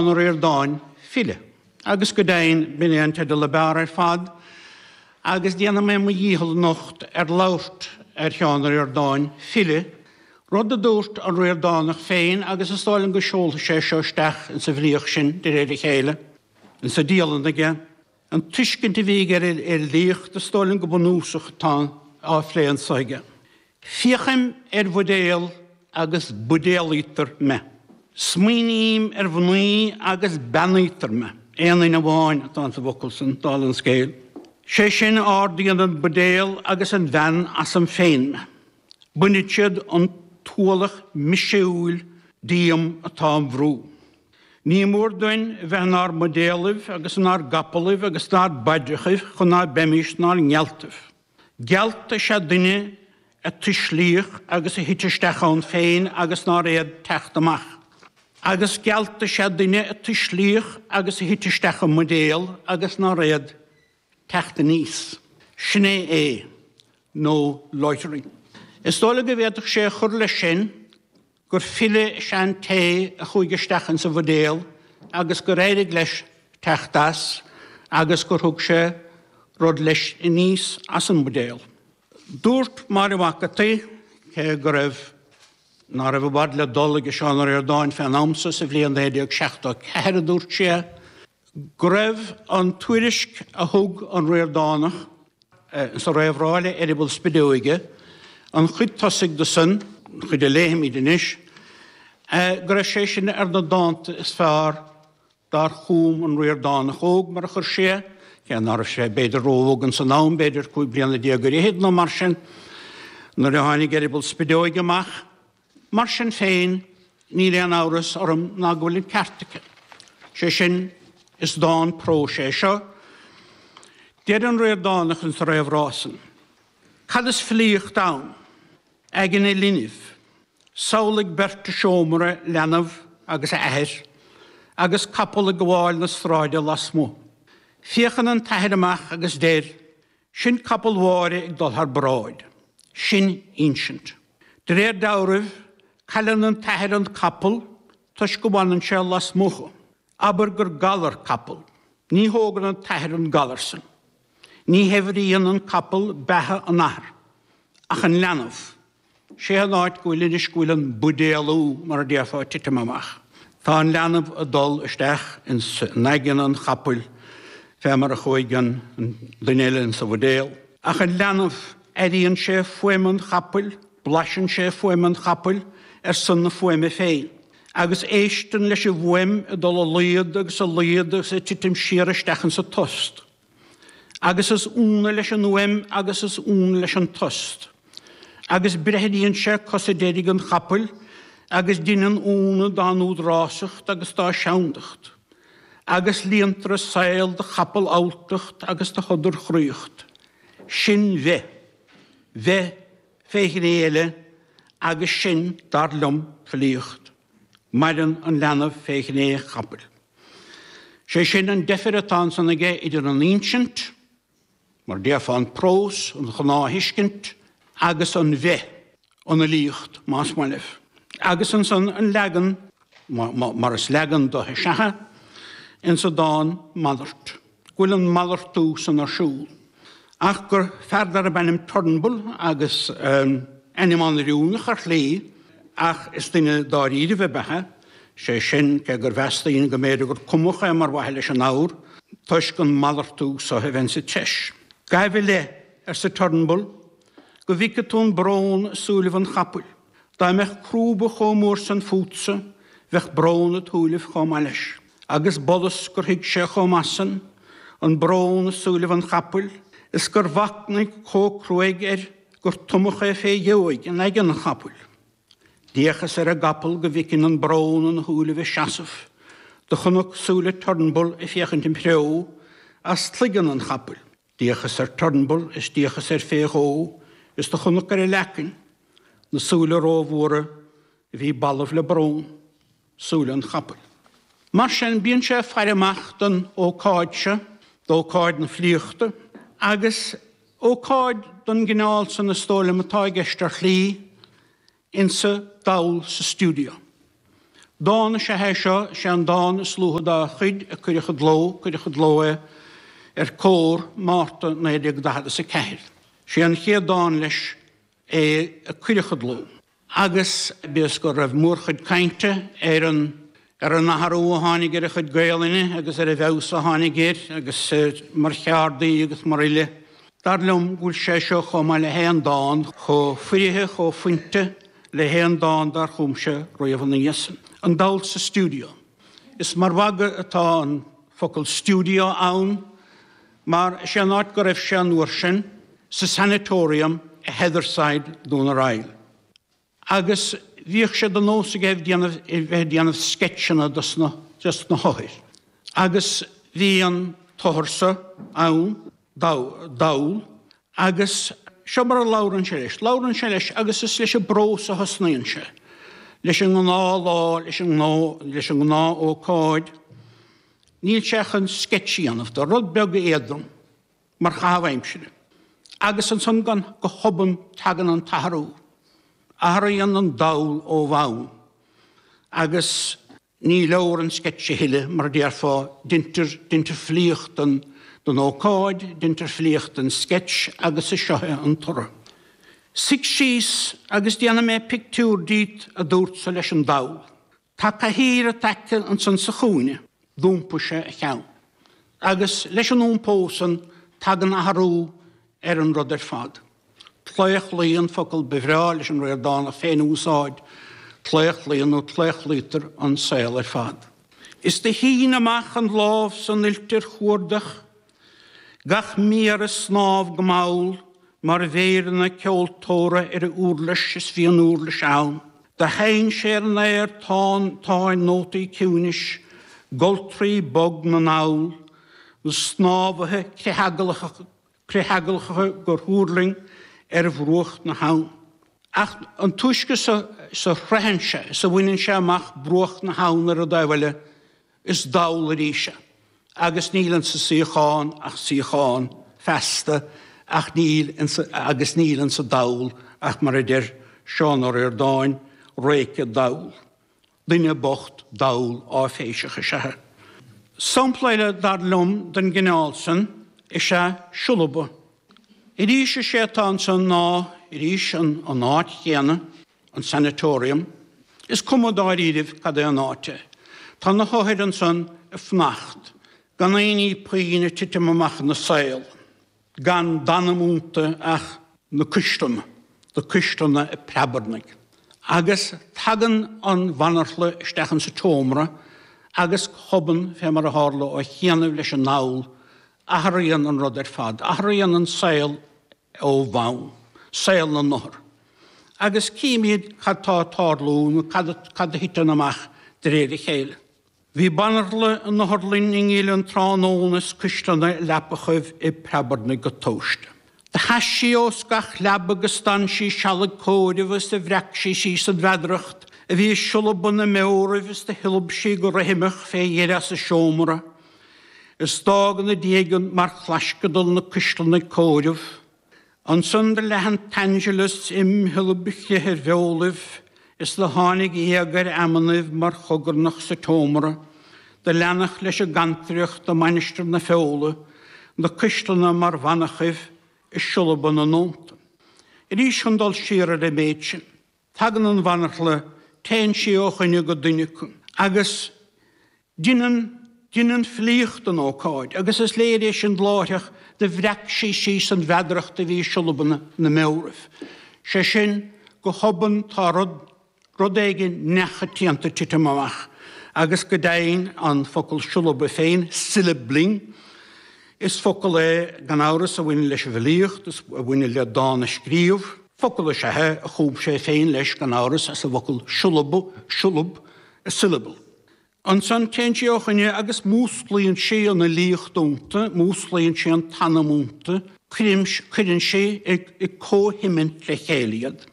Ó Ríordáin, file. Agus go deimhin, b'in é an teideal ab fhearr ar fad, agus déanfaidh mé mo dhícheall anocht ar labhairt ar Sheán Ó Ríordáin, file, rud a dúirt an Ríordánach féin agus is dóigh liom go seolfaidh sé seo isteach insa bhfilíocht sinn de réir a chéile, insa dialann aige. An tuiscint a bhí aige ar an fhilíocht, is dóigh liom go bunúsach atá á phlé anso aige. Féachaim ar bhuidéal agus buidéalaítear me. Smaoiním ar mhnaoi agus beannaítear me. Aon N amháin atá insa bhfocal san, dála an scéil. Sé sin, ardaíonn an buidéal agus an bhean asam féin me. Bainid siad an t-ualach miseúil díom atá im bhrú. Ní mór dúinn bheith inár mbuidéalaibh agus inár gcapallaibh agus inár bpaidreachaibh chun ná beimís inár ngealtaibh. Gealt is ea duine a tuislíodh agus a thit isteach ann féin agus nár fhéad teacht amach. Agus gealt is ea duine a tuislíodh agus a thit isteach i mbuidéal agus nár fhéad teacht aníos. Sin é é. No loitering. Is dóigh liom go bhféadfadh sé a chur leis sin gur file is ea an té a chuaigh isteach insa bhuidéal agus gur éirigh leis teacht as agus gur thug sé rud leis aníos as an mbuidéal. Dúirt Máire Mhac an tSaoi, cé go raibh, ná raibh i bhfad le dul ag Seán Ó Ríordáin fén am so, sa bhliain 1974 a dúirt sí é, go raibh an tuairisc a thug an Ríordánach sa réamhrá le Eireaball Spideoige, an chuid tosaigh de san, an chuid a léifimid anois, go raibh sé sin ar na dánta is fearr dár chum an Ríordánach óg, mar a chuir sí é, cé ná raibh sé b'fhéidir ró-óg ins an am, b'fhéidir 15 bliana ar fhichid nó mar sin, nuair a tháinig Eireaball Spideoige amach. Mar sin féin, níl aon amhras orm ná go bhfuil an ceart aici. Sé sin, is dán próis é seo. Deir an Ríordánach insa réamhrá san, Cad is filíocht ann? Aigne linbh. Samhlaigh beirt i seomra, leanbh agus a athair, agus capall ag gabháil na sráide lasmuigh. Féachann an t-athair amach agus deir, Sin capall Mháire ag dul thar bráid. Sin insint. De réir dealraimh, cailleann an t-athair an capall toisc go bhfanann sé lasmuigh. Abair gur galar capall. Ní thógann an t-athair an galar san. Ní shaibhríonn an capall beatha an athar, ach an leanbh. Sé an áit go bhfuil anois go bhfuil an buidéalú, mar a déarfá, ag titim amach. Tá an leanbh ag dul isteach ins in aigne an chapaill fé mar a chuaigh an duine eile ins an bhuidéal. Ach an leanbh, airíonn sé fuaim an chapaill, blaiseann sé fuaim an chapaill ar son na fuaime féin, agus éisteann leis an bhfuaim ag dul i laghad agus i laghad agus ag titim siar isteach ins an tost. Agus is ionadh leis an fhuaim agus is ionadh leis an tost. Agus breithníonn sé cosa deiridh an chapaill agus deineann ionadh dá n-údarásacht agus dá seandacht. Agus líontar a saol de chapall-alltacht agus de shodar-chroíocht. Sin bheith. Bheith fé ghné eile agus sin, dar liom, filíocht. Maireann an leanbh fé ghné an chapaill. Sé sin an deifir atá ansan aige idir an insint, mar déarfá an prós, an ghnáth-thuiscint, agus an bheith, an fhilíocht, más maith libh. Agus ansan an leagan, mar is leagan de is ea é, insa dán Malairt. go bhfuil an malartú san ar siúl, ach gur fear darb ainm Turnbull, agus ainm an-oiriúnach ar shlí, ach is duine dáiríribh ab ea é, sé sin, cé gur mheas daoine go mb'fhéidir gur cumadh é mar mhaithe leis an abhar, toisc an malartú so a bheith insa treis. Gabh i leith, arsa Turnbull, go bhfeice tú an brón i súilibh an chapaill. Dá mbeadh crúba chomh mór san fútsa, bheadh brón id shúilibh chomh maith leis. Agus b'fhollas gur thuig sé chomh maith san, an brón i súilibh an chapaill, is gur mhachnaigh chomh cruaidh air gur tumadh é fé dheoidh in aigne an chapaill. D'fhéachas ar an gcapall go bhfeicfinn an brón ina shúilibh ag seasamh. Do chonac súile Turnbull ag féachaint im threo as cloigeann an chapaill. D'fhéachas ar Turnbull is d'fhéachas air fé dhó is do chonac ar a leacain na súile rómhóra a bhí balbh le brón, súile an chapaill. Mar sin, bíonn sé ag faire amach don ócáid seo, d'ócáid na filíochta, agus ócáid den gcineál san is dóigh liom atá i gceist ar shlí, insa dall sa stiúideo. Dán is ea é seo, is é an dán is luaithe dá chuid a cuireadh i gcló, cuireadh i gcló é ar Comhar, Márta 1944. Is é an chéad dán leis é a cuireadh i gcló. Agus bíodh go raibh mórchuid cainte ar an ar an athrú a tháinig ar a chuid Gaelainne agus ar an bhfeabhas a tháinig air agus mar cheardaí agus mar fhile, dar liom go bhfuil sé seo chomh maith le haon dán, chomh foirfe, chomh fuinte le haon dán dár chum sé riamh ina dhiaidh san. An Dall sa Stiúideo. Is mar mhagadh atá an focal stiúideo ann mar is é an áit go raibh sé an uair sin, sa Sanatorium i Heatherside, Dún ar Aill. Agus bhíodh sé de nós aige déanamh, bheith ag déanamh sceitseanna dos na, dos na hothair. Agus bhí an t-othar so ann, dall, agus seo mar a labhrann sé leis, labhrann sé leis agus is leis an bprós a thosnaíonn sé, leis an ngnáthlá, leis an ngnó, leis an ngnáthócáid. Níl sé chun sceits a dhéanamh de, rud beag éadrom. mar chaitheamh aimsire. Agus ansan gan go hobann tagann an t-athrú. Athraíonn an dall ó bhonn. Agus ní leor an sceits a thuilleadh, mar a déarfá, deintear, deintear filíocht den, den ócáid, deintear filíocht den sceits agus is seo é an toradh. Suigh síos agus déanfaidh mé pictiúr díot, a dúrtsa leis an dall. Tá cathaoir i t'aice ansan sa chúinne. D'iompaigh sé a cheann. Agus leis an iompó san tagann athrú ar an rud ar fad. Claochlaíonn, focal ba bhreá leis an Ríordánach féin a úsáid, claochlaíonn nó claochlaítear an saol ar fad. Is do shín amach an lámh san fhuilt ar chuardach Gach méar ag snámh go mall mar mhéireanna ceoltóra ar a uirlis is bhí an uirlis ann. Do sheinn sé ar an aer tán táin nótaí ciúinis, goltraí bog na ndall, na snámhaithe critheaglacha gur thuirling ar bhruach na habhann. Ach an túisce is a shroicheann sé, is a bhaineann sé amach bruach na habhann ar an dtaobh eile, Is dall arís é, agus níl insa suíochán ach suíochán feasta, ach níl insa, agus níl insa dall ach mar a deir Seán Ó Ríordáin, réice dall. Duine bocht dall áiféiseach is ea é. Sampla eile, dar liom, den gcineál san is ea Siolaba. Arís is é atá ansan ná, arís, an áit chéanna, an sanatorium. Is cuma dáiríribh cad é an áit é. Tá na hothair ansan ag fanacht, gan aon ní puinn ag titim amach ina saol, gan d'anam iontu ach na cuisleanna, na cuisleanna ag preabarnaigh. Agus tagann an bhanarchla isteach insa tseomra agus go hobann, fé mar a tharla ó chianaibh leis an ndall, athraíonn an rud ar fad, athraíonn an saol ó bhonn, saol na n-othar. Agus címid cad tá ag tarlú nó cad cad a thiteann amach de réir a chéile. Bhí banarchla in otharlainn i nGill an tráthnóna is cuisleanna i leapachaibh ag preabarnaigh go tomhaiste. Do sheas sí os gach leaba agus d'fhan sí seal ag comhaireamh is do bhreac sí síos an mheadaracht a bhí i siolaba na mbeoraibh is do shiolab sí go rithimeach fé dheireadh as an seomra is d'fhág ina diaidh mar chlaisceadal na cuisleanna ag comhaireamh. Ansan do leath an t-Angelus im shiollaib chrith ar bheolaibh, is do tháinig éag ar amannaibh mar chogarnach sa tseomra, do leanfadh leis an gcantaireacht i Mainistir na Feola, na cuisleanna mar mhanachaibh i siolaba na nóta. Arís chun dul siar ar an méid sin. Tagann an bhanarchla, téann sí ó dhuine go duine acu, agus deineann, deineann filíocht den ócáid, agus is léir é sin láithreach, do bhreac sí síos an mheadaracht a bhí i siolaba na mbeoraibh. Sé sin, go hobann tá rud, rud éigin neachoitianta ag titim amach, agus go deimhin an focal siolaba féin, syllabling, is focal é gan amhras a bhaineann leis an bhfilíocht, a bhaineann le dán a scríobh. Focal is ea é a chum sé féin leis, gan amhras, as an bhfocal siolaba, siolab, a syllable. Ansan téann sí ó dhuine agus músclaíonn sí an fhilíocht iontu, músclaíonn sí an t-anam iontu, cuireann sí i comhthiomaint le chéile iad.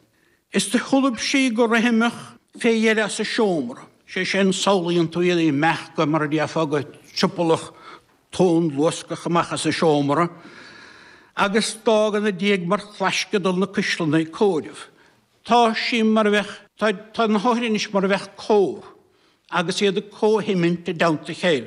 Is do shiolab sí go rithimeach fé dheireadh as an seomra, sé sin, samhlaíonn tú iad ag imeacht go, mar a déarfá, go triopallach tónluascach amach as an seomra agus d'fhág ina diaidh mar chlaisceadal na cuisleanna ag comhaireamh. Tá sí mar a bheadh, tá, tá na hothair anois mar a bheadh cór. agus iad ag comhthimint i dteannta a chéile.